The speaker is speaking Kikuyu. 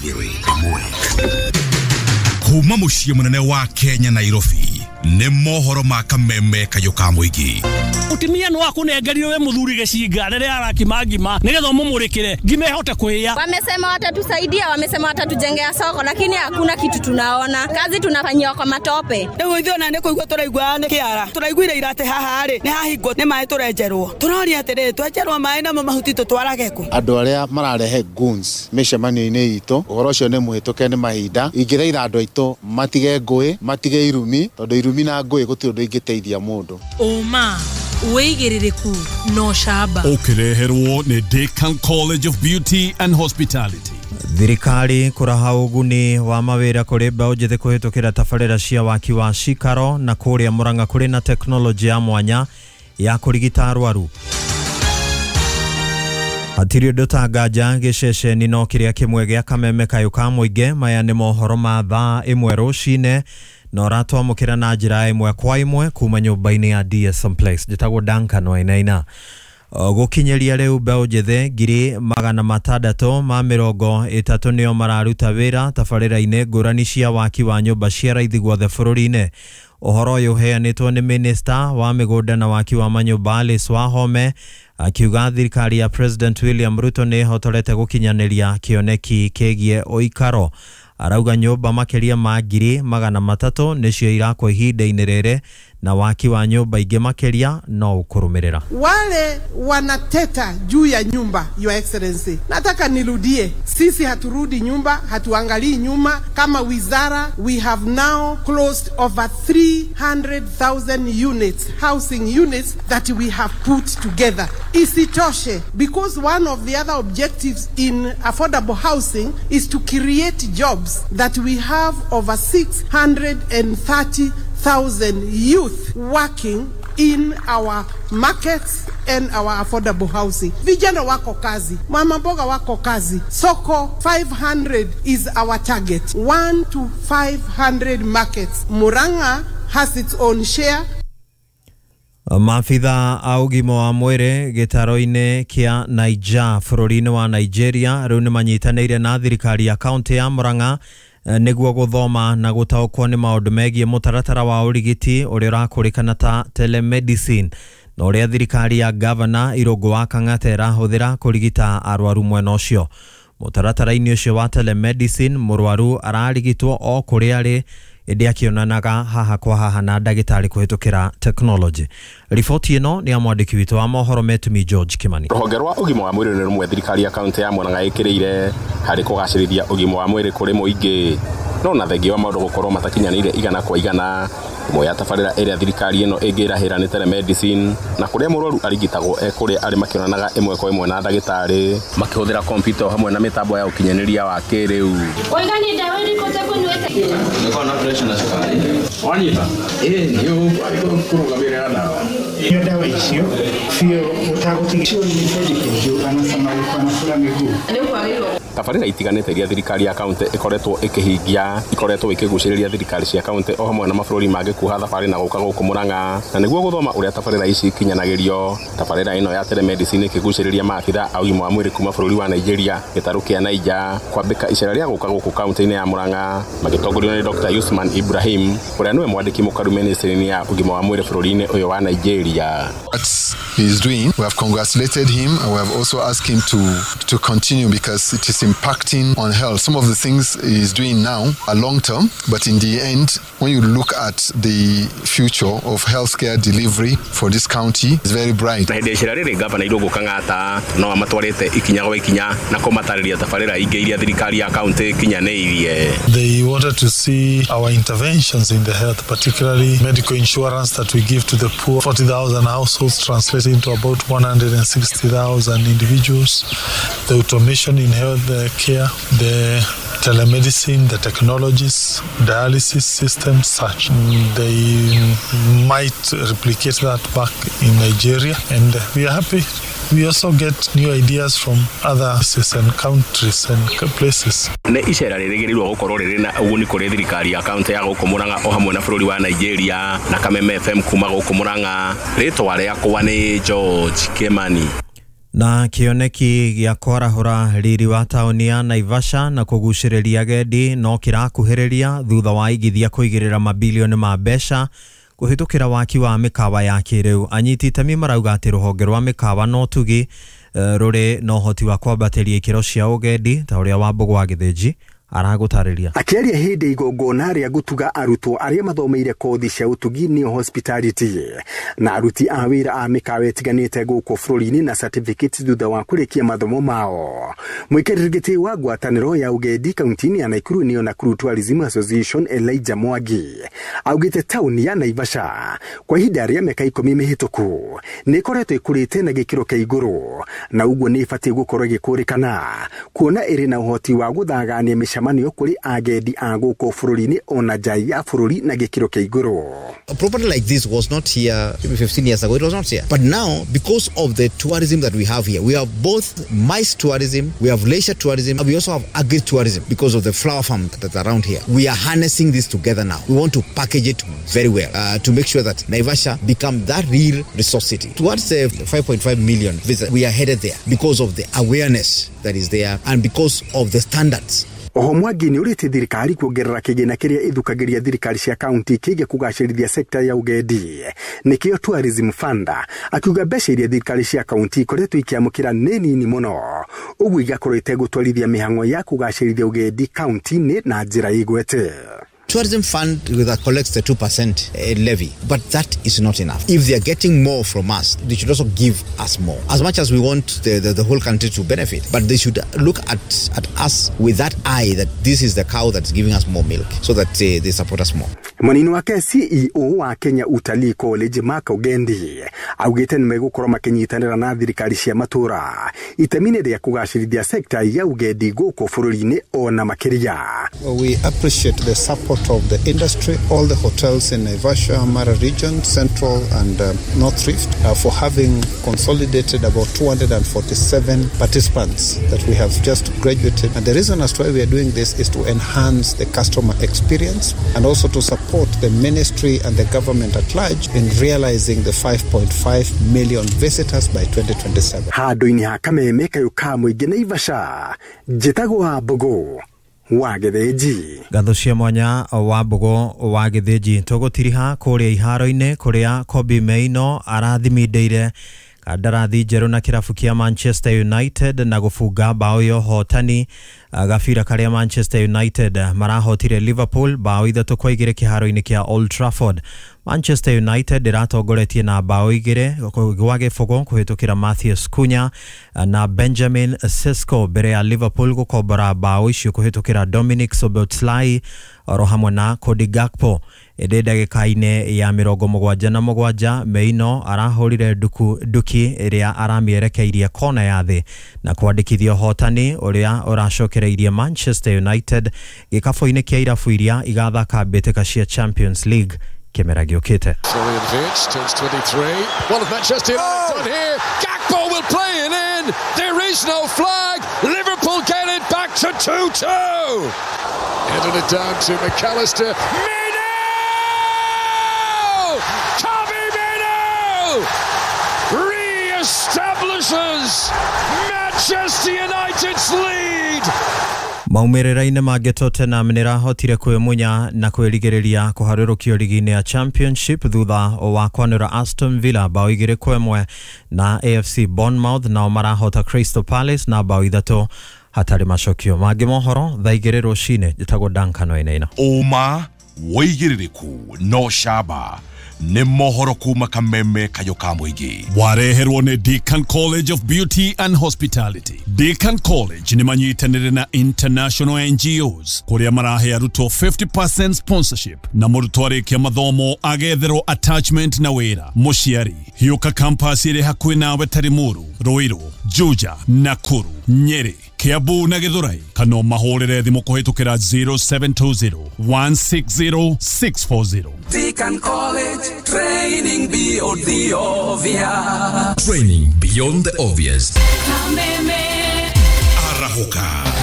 2.1. Kuma mũciĩ mũnene wa Kenya, Nairobi, nĩ mohoro ma Kameme Kayũ ka mũingĩ. Mutumia no akunengerire we muthuri gicinga riria arakima ngima nigetha umumurikire ngima ihote kuhia. Wamesema watatusaidia, wamesema watatujengea soko, lakini hakuna kitu tunaona. Kazi tunafanyiwa kwa matope. Rĩu ithuĩ ona nĩ kũigua tũraigua nĩ kĩara. Tũraiguire ira atĩ haha rĩ nĩ hahingwo nĩ maĩ tũrenjerwo. Tũroria atĩrĩrĩ, twenjerwo maĩ namo mahuti tũtwarage kũ? Andũ arĩa mararehe goons mĩcemanio-inĩ itũ, ũhoro ũcio nĩ mũhĩtũke nĩ mahinda. Ingĩthaitha andũ aitũ matige ngũĩ, matige irumi, tondũ irumi na ngũĩ gũtirĩ ũndũ ingĩteithia mũndũ. Ũma, wĩigĩrĩrĩku na ũcamba. Ũkĩreherwo nĩ Decan College of Beauty and Hospitality. Thirikari kũraha ũguni wa mawĩra kũrĩ mbeũ njĩthĩ kũhĩtũkĩra tabarĩra cia waki wa cikaro, na kũrĩa Murang'a kũrĩ na tekinoronjĩ ya mwanya ya kũrigita arwaru. Hatirĩ ũndũ ta nganja gĩceceni no kĩrĩa kĩmwe gĩa Kameme Kayũ ka mũingĩ. Maya nĩ mohoro ma thaa 1 rũcinĩ na ũratwamũkĩra na njĩra ĩmwe kwa ĩmwe kuma nyũmba-inĩ ya DSM Place. Njĩtagwo Duncan Wainaina. Gũkinyĩria rĩu mbeũ njĩthĩ 630,000 nĩo mararuta wĩra tabarĩra-inĩ ngũrani cia waki wa nyũmba cia raithi guothe bũrũri-inĩ. Ũhoro ũyũ ũheanĩtwo nĩ minista wa mĩgũnda na waki wa manyũmba Alice Wahome, akiuga thirikari ya President William Ruto nĩ ĩhotorete gũkinyanĩria kĩoneki kĩgiĩ ũikaro. Arauga nyũmba makĩria ma 300,000 nĩcio irakwo ihinda-inĩ rĩrĩ, na waki wa nyũmba ingĩ makĩria no ũkũrũmĩrĩra. Wale wanateta juu ya nyumba, Your Excellency, nataka nirudie, sisi haturudi nyumba, hatuangalii nyuma. Kama wizara, we have now closed over 300,000 units, housing units that we have put together. Isitoshe, because one of the other objectives in affordable housing is to create jobs, that we have over 630,000 youth working in our markets and our affordable housing. Vijana wako kazi, mama mboga wako kazi. Soko 500 is our target. 1 to 500 markets. Murang'a has its own share. Maabitha a ũgima wa mwĩrĩ gĩtaro-inĩ kĩa Niger bũrũri-inĩ wa Nigeria rĩu nĩ manyitanĩire na thirikari ya kaũntĩ ya Murang'a nĩguo gũthoma na gũtaũkwo nĩ maũndũ megiĩ mũtaratara wa ũrigiti ũrĩa ũrakũrĩkana ta telemedicine, na ũrĩa thirikari ya gavana Irũngũ wa Kang'ata ĩrahũthĩra kũrigita arwaru mwena ũcio. Mũtaratara-inĩ ũcio wa telemedicine, mũrwaru ararigitwo o kũrĩa arĩ, ĩndĩ akĩonanaga haha kwa haha na ndagĩtarĩ kũhĩtũkĩra tekinoronjĩ. Riboti ĩno nĩ ya mwandĩki witũ wa mohoro Metumi George Kimani. Rũhonge rwa ũgima wa mwĩrĩ nĩ rũmwe thirikari ya kaũntĩ ya Murang'a ĩkĩrĩire harĩ kũgacĩrithia ũgima wa mwĩrĩ kũrĩ mũingĩ, no na thengia wa maũndũ gũkorwo matakinyanĩire igana kwa igana. Ĩmwe ya tabarĩra ĩrĩa thirikari ĩno ĩngĩrahĩra nĩ telemedicine, na kũrĩa mũrwaru arigitagwo e kũrĩa arĩ makĩonanaga ĩmwe kwa ĩmwe na ndagĩtarĩ makĩhũthĩra kompiuta hamwe na mĩtambo ya ũkinyanĩria wa kĩrĩu. Oigani ndawa irĩkũ ũtekũnyuĩte? Nĩkorwo na pressure na cukari. Wanyita? Ĩĩ, nĩ ũkũrũgamĩrĩra ndawa. Hiyo dawa icio sio utagũtiga nĩ anasema alikuwa anafura miguu. Tabarĩra itiganĩte iria thirikari ya kaũntĩ ĩkoretwo ĩkĩhingia ikoretwo ikĩgucĩrĩria thirikari cia kaũntĩ o hamwe na mabũrũri mangĩ kuha thabarĩ na gũka gũkũ Murang'a, na nĩguo gũthoma ũrĩa tabarĩra ici ikinyanagĩrio. Tabarĩra ĩno ya telemedicine ĩkĩgucĩrĩria maabitha a ũgima wa mwĩrĩ kuma bũrũri wa Nigeria gĩtarũ kĩa Niger kwambĩka icera rĩa gũka gũkũ kaũntĩ-inĩ ya Murang'a, magĩtongorio nĩ Dr. Usman Ibrahim ũrĩa nĩwe mwandĩki mũkaru ministry-inĩ ya ũgima wa mwĩrĩ bũrũri-inĩ ũyũ wa Nigeria. What he is doing, we have congratulated him and we have also asked him to continue because it is impacting on health. Some of the things he is doing now are long term, but in the end, when you look at the future of healthcare delivery for this county, it's very bright. Na hĩndĩ icera rĩrĩ gavana Irũngũ Kang'ata no amatwarĩte ikinya gwa ikinya na kũmatarĩria tabarĩra ingĩ iria thirikari ya kaũntĩ ĩkinyanĩirie. They wanted to see our interventions in the health, particularly medical insurance that we give to the poor. 40,000 households translating to about 160,000 individuals. The automation in health care, the telemedicine, the technologies, dialysis systems, such. They might replicate that back in Nigeria, and we are happy. We also get new ideas from other places and countries and places. Nĩ icera rĩrĩgĩrĩirwo gũkorwo rĩrĩ na ũguni kũrĩ thirikari ya kaũntĩ ya gũkũ Murang'a o hamwe na bũrũri wa Nigeria. Na Kameme FM kuma gũkũ Murang'a, rĩtwa rĩakwa nĩ George Kimani. Na kĩoneki gĩa kwarahũra riri wa taũni ya Naivasha na kũgucĩrĩria agendi no kĩrakuhĩrĩria thutha wa igithia kũigĩrĩra mabilioni ma mbeca kũhĩtũkĩra waki wa mĩkawa ya kĩrĩu. Anyiti itemi marauga atĩ rũhonge rwa mĩkawa na ũtugi rũrĩ na ũhoti wa kwambatĩria ikĩro cia ũgendi ta ũrĩa Wambũgũ wa Gĩthĩnji aragũtarĩria. Akĩaria hĩndĩ igongona rĩa gũtuga arutwo arĩa mathomeire kothi cia ũtugi nĩo hospitality na aruti a wĩra a mĩkawa ĩtiganĩte gũkũ bũrũri-inĩ na certificate thutha wa kũrĩkia mathomo mao. Mũikarĩri gĩtĩ wa ngwatanĩro ya ũgendi kaunti-inĩ ya Nakuru nĩyo Nakuru Tourism Association Elijah Mwangi augĩte taũni ya Naivasha kwa ihinda rĩa mĩaka 10 mĩhĩtũku nĩ ĩkoretwo ĩkũrĩte na gĩkĩro kĩa igũrũ na ũguo nĩ ĩbatiĩ gũkorwo ĩgĩkũrĩkana kuona ĩrĩ na ũhoti wa gũthagania mĩcemanio kũrĩ agendi a gũkũ bũrũri-inĩ ona nja ya bũrũri na gĩkĩro kĩa igũrũ. A property like this was not here maybe 15 years ago. It was not here. But now, because of the tourism that we have here, we have both MICE tourism, we have leisure tourism, and we also have agri-tourism because of the flower farm that's around here. We are harnessing this together now. We want to package it very well to make sure that Naivasha become that real resource city. Towards the 5.5 million visitors, we are headed there because of the awareness that is there and because of the standards. Oho Mwangi nĩ ũrĩtie thirikari kuongerera kĩgĩna kĩrĩa ĩthukagĩria thirikari cia kaunti kĩgiĩ kũgacĩrithia sekta ya ũgendi nĩkĩo Tourism Fund, akiuga mbeca iria thirikari cia kaunti ikoretwo ikĩamũkĩra nĩ nini mũno ũguo igakorwo itegũtwarithia mĩhang'o ya kũgacĩrithia ũgendi kaunti-inĩ na njĩra ĩgwete. Tourism Fund that collects the 2% levy, but that is not enough. If they are getting more from us, they should also give us more. As much as we want the whole country to benefit, but they should look at us with that eye that this is the cow that's giving us more milk, so that they support us more. Mwanini wake CEO wa Kenya Utalii College Mark Ogendi augĩte nĩ megũkorwo makĩnyitanĩra na thirikari cia matũra itemi-inĩ rĩa kũgacĩrithia sekta ya ũgendi gũkũ bũrũri-inĩ ona makĩria. We appreciate the support of the industry, all the hotels in Naivasha, Mara region, Central and North Rift for having consolidated about 247 participants that we have just graduated. And the reason as to why we are doing this is to enhance the customer experience and also to support the ministry and the government at large in realizing the 5.5 million visitors by 2027. Handũ-inĩ ha kameme kayũ ka mũingĩ Naivasha, njĩtagwo Wambũgũ wa Gĩthĩnji. Ngatho cia mwanya Wambũgũ wa Gĩthĩnji. Tũgũtiriha kũrĩa iharo-inĩ kũrĩa Kobbie Mainoo arathimindĩire kandarathi njerũ na kĩrabu kĩa Manchester United na gũbunga bao ya ũhotani gabira karĩa Manchester United marahotire Liverpool bao 3-2 kĩharo-inĩ kĩa Old Trafford. Manchester United ĩratongoretie na bao 2-0 kũhĩtũkĩra Matheus Cunha na Benjamin Sesko mbere ya Liverpool gũkombora bao icio kũhĩtũkĩra Dominic Szoboszlai oro hamwe na Cody Gakpo. Ĩndĩ ndagĩka-inĩ ya 77 Mainoo arahũrire nduki ĩrĩa aramĩerekeirie kona ya thĩ na kwandĩkithia ũhotani ũrĩa ũracokereirie Manchester United gĩkabũ-inĩ kĩa irabu iria igathaka mbĩtĩka cia Champions League kĩmera gĩũkĩte. Florian Wirtz turns 23. One of Manchester United done here. Gakpo will play it in. There is no flag. Liverpool get it back to 2-2. Headed it down to McAllister. Mainoo! Kobbie Mainoo re-establishes Manchester United's lead. Maumĩrĩra-inĩ mangĩ Tottenham nĩrahotire kwĩmunya na kwĩrigĩrĩria kũharũrũkio ligi-inĩ ya Championship thutha wa kwanũra Aston Villa bao 2-1 na AFC Bournemouth nao marahota Crystal Palace na bao 3 hatarĩ macokio. Mangĩ mohoro thaa 2 rũcinĩ. Njĩtagwo Duncan Wainaina. Ũma wĩigĩrĩrĩku no camba nĩ mohoro kuma kameme kayũ ka mũingĩ. Wareherwo nĩ Deacon College of Beauty and Hospitality. Deacon College nĩ manyitanĩire na international NGOs kũrĩa marahe arutwo 50% sponsorship na mũrutwo arĩkia mathomo agetherwo attachment na wĩra. Mũciari hiũka campus ĩrĩ hakuhĩ nawe ta Limuru, Ruiru, Juja, Nakuru, Nyeri, Kiambu na Githurai, kana mahũrĩre thimũ kũhĩtũkĩra 0720 160 640. Deacon College, training beyond the obvious. Training beyond the obvious. Arahũka.